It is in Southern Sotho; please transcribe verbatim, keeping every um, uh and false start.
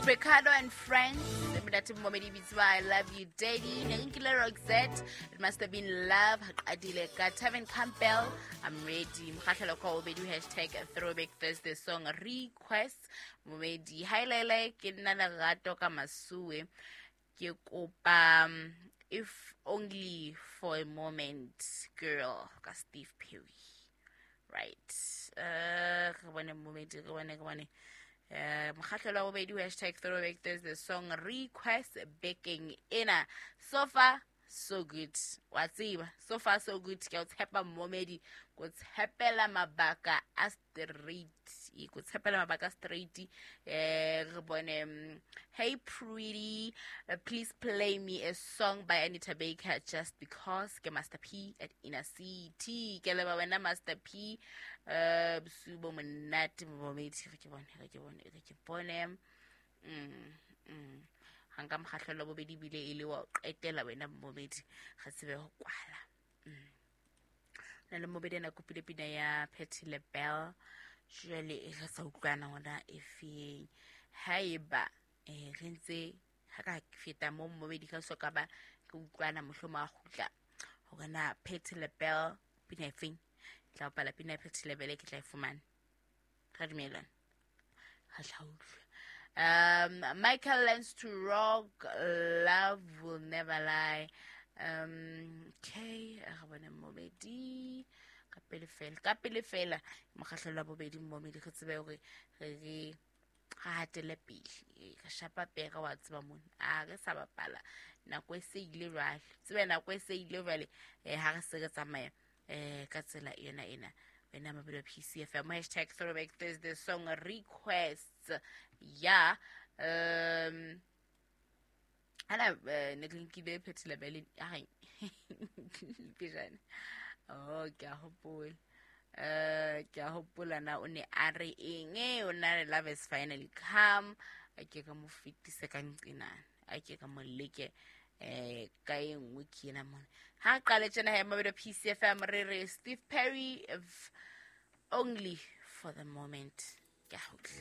Ricardo and Friends, monate momedi bitswa I Love You Daddy. Ne re nkile Roxette, It Must Have Been Love. Qadile ka Tevin Campbell, I'm Ready. Mokgahlelo kwa bobedi, hashtag Throwback Thursday song request. Momedi, hi Lele, ke nna Lerato ka Masuwe. Ke kopa um, If Only for a Moment Girl ka Steve Perry. Right, uh re bone momedi, re bone, re bone. Eh, mokgahlelo wa bobedi, hashtag Throwback Thursday song request bekeng ena. So far so good, wa tseba, so far so good. Ke a o tshepa momedi, ko tshepela mabaka a straight, ko tshepela mabaka a straight. Eh, re bone. mm, hey pretty, uh, please play me a song by Anita Baker, Just Because. Ke Master P at Inner City. Ke leba wena Master P. Eh, bosiu bo monate momedi. Re ke bone, re ke bone, re ke bone. mm, mm. Ga nka mokgahlelo bobedi bile e le wa o qetela wena momedi, ga tsebe go kwala. mm. Na le mobedi ena kopile pina ya Patti LaBelle, jwale e re sa utlwana gona e feng. Haeba um re ntse ga ka feta mo momedi ka so ka ba ke utlwana, mohlomong a kgutla hore na Patti LaBelle pina e feng, ke tla bapala pina ya Patti LaBelle, ke tla e fumana. Ra dumelana, ga tla utlwa. um Michael Learns to Rock, Love Will Never Lie. um okay re bone momedi ka pele fela, ka pele fela. Mokgahlelo wa bobedi momedi, re tsebe hore re re ga hatele pele, re shapa pere, wa tseba mona a re sa bapala, nako e se ile jwale, tsebe nako e se ile jwale. um ha re se re tsamaya um ka tsela yona ena, wena mabelo P C F M, hashtag Throwback Thursday song requests. Ya, um ana eh, ne ke nkile Patti LaBelle a pejana. Oh, ke a hopola, eh ke a hopola na o ne a re eng. Eh, o na re love has finally come. A ke ka mo fetise ka nqinana, a ke ka mo leke eh ka e nngwe ke ena mona. Ha qale tjena he, mabelo P C F M, re re Steve Perry, If Only for the Moment. Ke a utlwa.